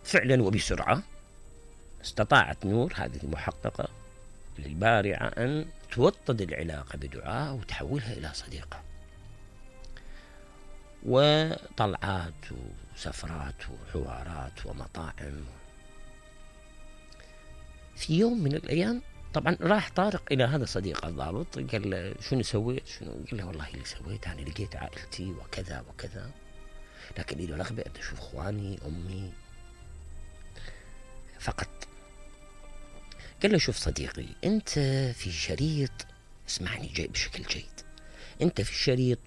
فعلا وبسرعة استطاعت نور هذه المحققة للبارعة أن توطد العلاقة بدعاء وتحولها إلى صديقة، وطلعات وسفرات وحوارات ومطاعم. في يوم من الأيام طبعا راح طارق إلى هذا صديقه الضابط، قال له شنو سويت؟ قال له والله اللي سويت أنا لقيت عائلتي وكذا وكذا، لكن لي رغبة أن أشوف إخواني أمي فقط. قال له شوف صديقي، أنت في شريط، اسمعني جاي بشكل جيد، أنت في الشريط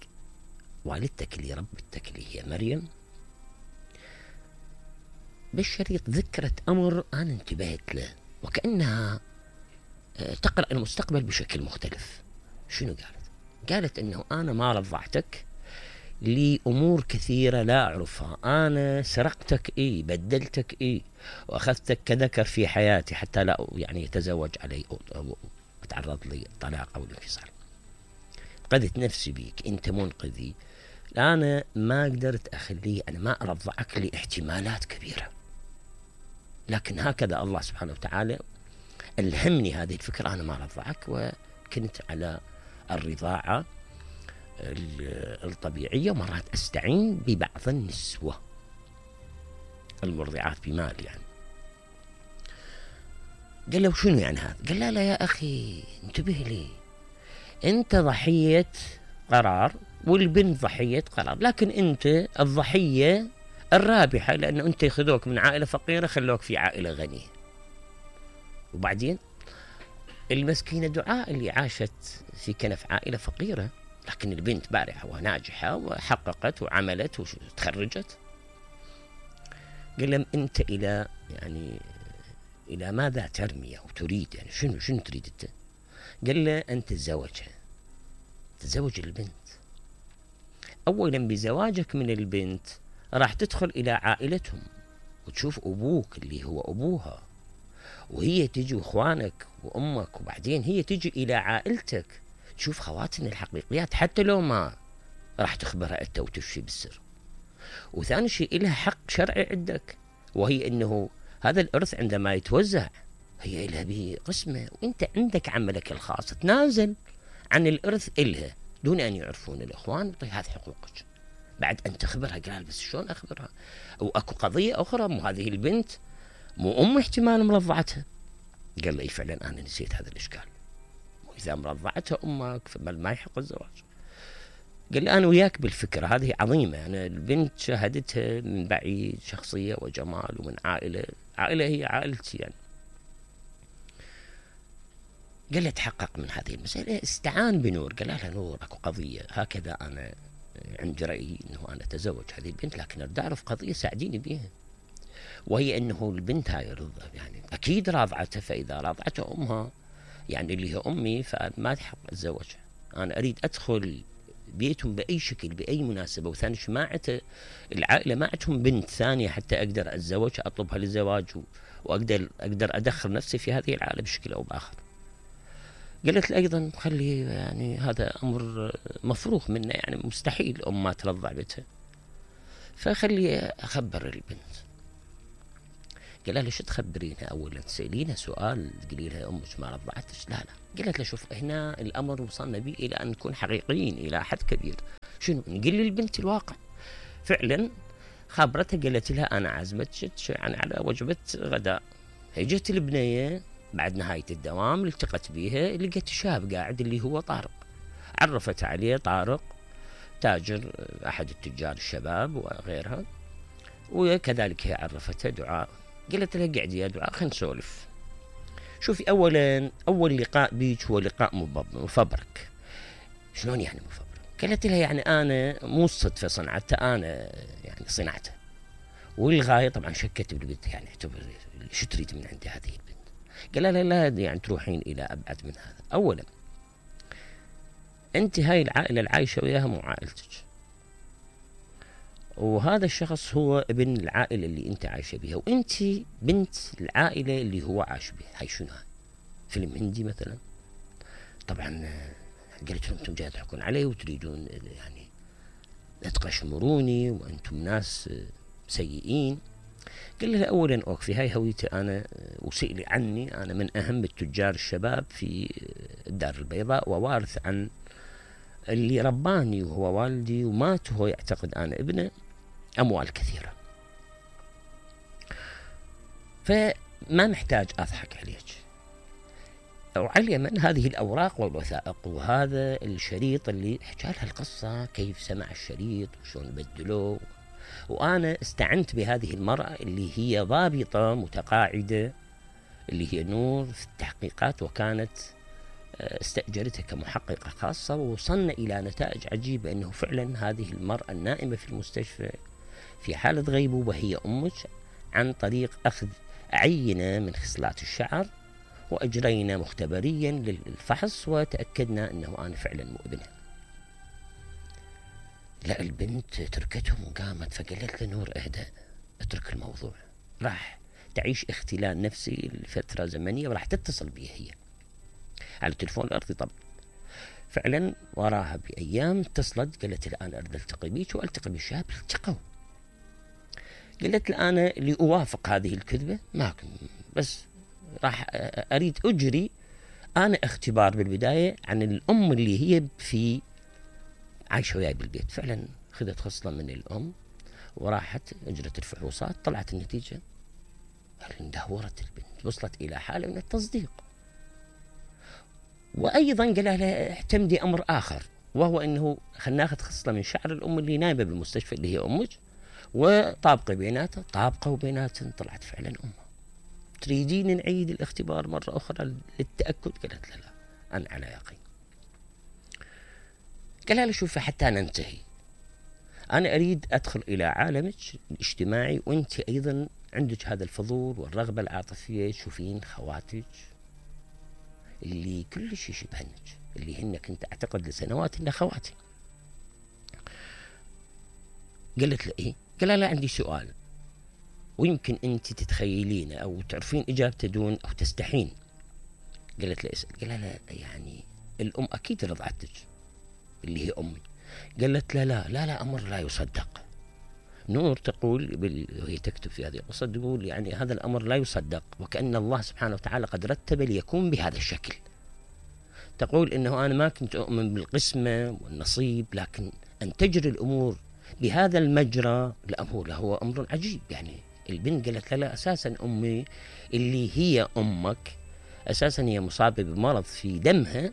والدتك اللي ربتك اللي هي مريم بالشريط ذكرت أمر أنا انتبهت له وكأنها تقرأ المستقبل بشكل مختلف. شنو قالت؟ قالت أنه أنا ما رضعتك لأمور كثيرة لا أعرفها، أنا سرقتك بدلتك وأخذتك كذكر في حياتي حتى لا يعني يتزوج علي أو أتعرض للطلاق أو الانفصال. قذت نفسي بيك، أنت منقذي، أنا ما قدرت أخليه، أنا ما أرضعك لاحتمالات كبيرة، لكن هكذا الله سبحانه وتعالى ألهمني هذه الفكرة، أنا ما رضعك، وكنت على الرضاعة الطبيعية، ومرات أستعين ببعض النسوة المرضعات بمال يعني. قال له شنو يعني هذا؟ قال لا يا أخي انتبه لي، أنت ضحية قرار والبنت ضحية قرار، لكن أنت الضحية الرابحة، لأنه أنت يخذوك من عائلة فقيرة خلوك في عائلة غنية. وبعدين المسكينة دعاء اللي عاشت في كنف عائلة فقيرة، لكن البنت بارعة وناجحة وحققت وعملت وتخرجت. قال لهم أنت إلى ماذا ترمي أو تريد؟ يعني شنو تريد أنت؟ قال له أنت تتزوج البنت. أولا بزواجك من البنت راح تدخل إلى عائلتهم وتشوف أبوك اللي هو أبوها، وهي تجي وإخوانك وأمك، وبعدين هي تجي إلى عائلتك تشوف خواتم الحقيقيات حتى لو ما راح تخبرها أنت وتفشي بالسر. وثاني شيء إلها حق شرعي عندك، وهي أنه هذا الإرث عندما يتوزع هي إلها بقسمة، وأنت عندك عملك الخاص تنازل عن الإرث إلها دون أن يعرفون الإخوان. طيب هذه حقوقك بعد أن تخبرها. قال بس شلون أخبرها؟ أو أكو قضية أخرى، مو هذه البنت مو احتمال مرضعتها. قال لي فعلا أنا نسيت هذا الإشكال، وإذا مرضعتها أمك فما يحق الزواج. قال لي أنا وياك بالفكرة هذه عظيمة، أنا البنت شاهدتها من بعيد، شخصية وجمال ومن عائلة هي عائلتي يعني. قال لي تحقق من هذه المسألة، استعان بنور، قال لها نور أكو قضية هكذا، أنا عندي رأيي أنه أنا أتزوج هذه البنت، لكن أريد أعرف قضية ساعديني بها، وهي أنه البنت هاي يعني أكيد راضعتها، فإذا راضعتها أمها يعني اللي هي أمي فما تحق أتزوجها، أنا أريد أدخل بيتهم بأي شكل بأي مناسبة، وثاني شيء ما العائلة ما عندهم بنت ثانية حتى أقدر أتزوجها أطلبها للزواج وأقدر أدخل نفسي في هذه العائلة بشكل أو بآخر. قالت لي أيضا خلي يعني هذا أمر مفروغ منه، يعني مستحيل أم ما ترضع بنتها، فخلي أخبر البنت. قال لها ليش تخبرينها؟ أولا تسألينها سؤال تقولي لها أمك ما رضعتش؟ لا. قالت له شوف هنا الأمر وصلنا به إلى أن نكون حقيقيين إلى حد كبير، شنو نقول للبنت الواقع. فعلا خبرتها، قالت لها أنا عزمتك يعني على وجبة غداء. هجت البنية بعد نهاية الدوام، التقت بيها لقيت شاب قاعد اللي هو طارق، عرفت عليه طارق تاجر أحد التجار الشباب وغيرها، وكذلك هي عرفتها دعاء. قالت لها قعدي يا دعاء خلينا نسولف. شوفي أولا أول لقاء بيك هو لقاء مفبرك. شلون يعني مفبرك؟ قالت لها يعني أنا مو الصدفة صنعته، أنا يعني صنعته، والغاية طبعا شكت بالبنت، يعني شو تريد من عندي هذه البنت؟ قال لها لا يعني تروحين إلى أبعد من هذا. أولا أنت هاي العائلة العايشة وياها مو عائلتك، وهذا الشخص هو ابن العائلة اللي انت عايشة بها، وانت بنت العائلة اللي هو عايش بها. هاي شنو هاي؟ فيلم هندي مثلا؟ طبعا قلت لهم انتم جاي تحكون علي وتريدون يعني لا تقشمروني، وانتم ناس سيئين. قال لها أولا أوكفي هاي هويتي أنا، وسئلي عني، أنا من أهم التجار الشباب في الدار البيضاء، ووارث عن اللي رباني وهو والدي، ومات وهو يعتقد أنا ابنه، أموال كثيرة، فما محتاج أضحك عليك. وعلى من هذه الأوراق والوثائق وهذا الشريط اللي حكى لها القصة، كيف سمع الشريط وشون بدلوه. وأنا استعنت بهذه المرأة اللي هي ضابطة متقاعدة، اللي هي نور، في التحقيقات، وكانت استأجرتها كمحققة خاصة، ووصلنا إلى نتائج عجيبة أنه فعلا هذه المرأة النائمة في المستشفى في حالة غيبوبة هي أمك، عن طريق أخذ عينة من خصلات الشعر، وأجرينا مختبريا للفحص وتأكدنا أنه أنا فعلا مو ابنها. لا، البنت تركتهم وقامت، فقالت له نور اهدأ، اترك الموضوع، راح تعيش اختلال نفسي لفترة زمنية، وراح تتصل بي هي على التلفون الأرضي طبعا. فعلا وراها بأيام اتصلت، قالت الآن أريد ألتقي بيك وألتقي بالشاب. التقوا، قالت لي أنا لأوافق هذه الكذبة ماكن، بس راح أريد أجري أنا اختبار بالبداية عن الأم اللي هي في عايشة وياي بالبيت. فعلا خذت خصلة من الأم وراحت أجرت الفحوصات، طلعت النتيجة اندهورت البنت، وصلت إلى حالة من التصديق. وأيضا قال لها اعتمدي أمر آخر، وهو أنه خلنا ناخذ خصلة من شعر الأم اللي نايمة بالمستشفى اللي هي أمك، وطابقة بيناتها، طابقة وبيناتها طلعت فعلا أمها. تريدين نعيد الاختبار مرة أخرى للتأكد؟ قالت لا أنا على يقين. قال لها شوفي حتى ننتهي، أنا أريد أدخل إلى عالمك الاجتماعي، وأنت أيضا عندك هذا الفضول والرغبة العاطفية، تشوفين خواتك اللي كل شيء يشبهنك، اللي هن كنت أعتقد لسنوات إن خواتي. قالت له إيه؟ قال لا عندي سؤال ويمكن أنت تتخيلين أو تعرفين إجابته دون أو تستحين. قالت له اسأل. قال لا يعني الأم أكيد رضعتك اللي هي أمي. قالت لا أمر لا يصدق. نور تقول وهي تكتب في هذه القصة، تقول يعني هذا الأمر لا يصدق، وكأن الله سبحانه وتعالى قد رتب ليكون بهذا الشكل. تقول إنه أنا ما كنت أؤمن بالقسمة والنصيب، لكن أن تجري الأمور بهذا المجرى هو أمر عجيب. يعني البنت قالت لا أساسا أمي اللي هي أمك أساسا هي مصابة بمرض في دمها،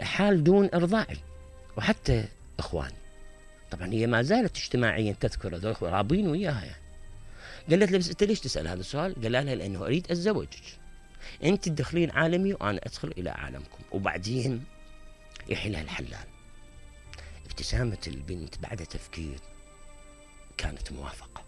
حال دون إرضاعي، وحتى إخواني طبعا هي ما زالت اجتماعيا تذكر هذول رابين وياها يعني. قالت له بس أنت ليش تسأل هذا السؤال؟ قال لها لأنه أريد أتزوجك، أنت تدخلين عالمي وأنا أدخل إلى عالمكم، وبعدين يحلها الحلال. ابتسامة البنت بعد تفكير كانت موافقة.